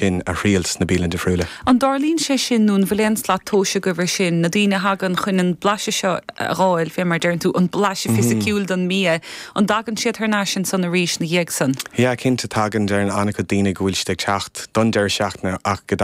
In a thriail sna bialanna difriúla. An dtarlaíonn sé sin nó an bhfuil aon slat tomhais agaibh ar sin, na daoine a thagann chun an blaiseadh seo a dh'fháil, fé mar a deireann tú, an blaiseadh fisiciúil don mbia, an dtagann siad thar n-ais ansan arís 'na dhiaidh san? Yeah, cinnte tagann, deireann an-chuid daoine go bhfuil siad ag teacht don deireadh seachtaine ach go.